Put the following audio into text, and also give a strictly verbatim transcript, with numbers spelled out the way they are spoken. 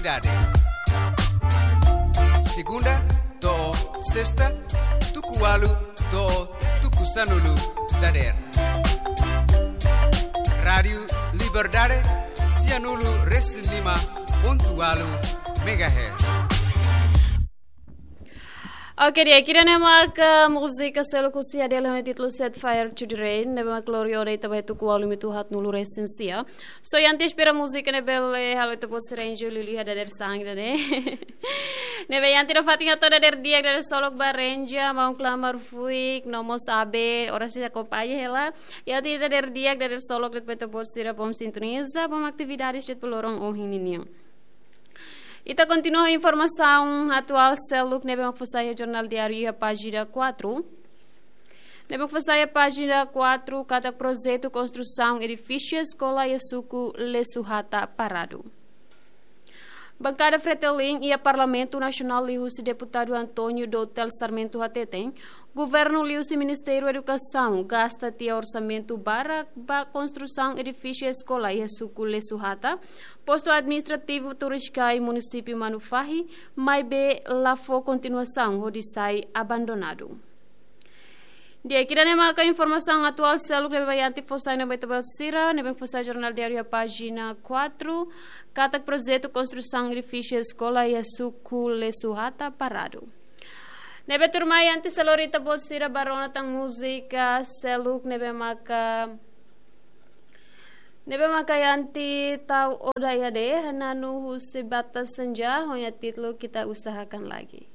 Dade. Segunda to'o sesta, tuku ualu to'o tuku sanulu dadeer. Rádiu Liberdade, sianulu resin lima pontu ualu megahertz. Oke, di'ak, ida-ne'e maka múzika seluk husi Adele ho títulu Set Fire to the Rain, ne'ebé mak lori ona ita ba tuku ualu minutu haatnulu resin sia. So, iha ita espera múzika ne'e bele halo ita-boot sira enjoy liuliu iha dadeer-saan ida-ne'e. Ne'ebé iha ita nafatin hato'o dadeer di'ak, dadeer solok ba Renja, maun Klamar Fuik, no mós Abe, oras ita akompaña hela. Iha ita dadeer di'ak, dadeer solok de'it ba ita-boot sira bom sintoniza, bom atividades de'it ba loron ohin ninian. Ita kontinua ho informasaun atuál seluk ne'ebé mak fó sai iha Jornál Diáriu iha pájina quatro. Ne'ebé mak fó sai iha pájina quatro, katak projetu konstrusaun edifísiu eskola iha suku Lesuhata paradu. Bankada Fretilin iha Parlamentu Nasionál liuhusi Deputadu António Dotel Sarmento hateten, Governu liuhusi Ministériu Edukasaun gasta tiha orsamentu barak ba konstrusaun edifísiu eskola iha suku Lesuhata, postu administrativu Turiscai, munisípiu Manufahi, maibé la fó kontinuasaun hodi sai abandonadu. Di'ak, ida-ne'e maka informasaun atuál seluk ne'ebé iha ita fó sai ona ba ita-boot sira, ne'ebé fó sai Jornál Diáriu iha pájina quatro, katak projetu konstrusaun edifísiu eskola iha suku Lesuhata paradu. Ne'ebé tuirmai, antes de lori ita-boot sira ba rona tan múzika seluk ne'ebé maka, ne'ebé maka iha ita tau oda iha de, Hananu husi Bata Senja, ho nia títulu Kita Usahakan Lagi.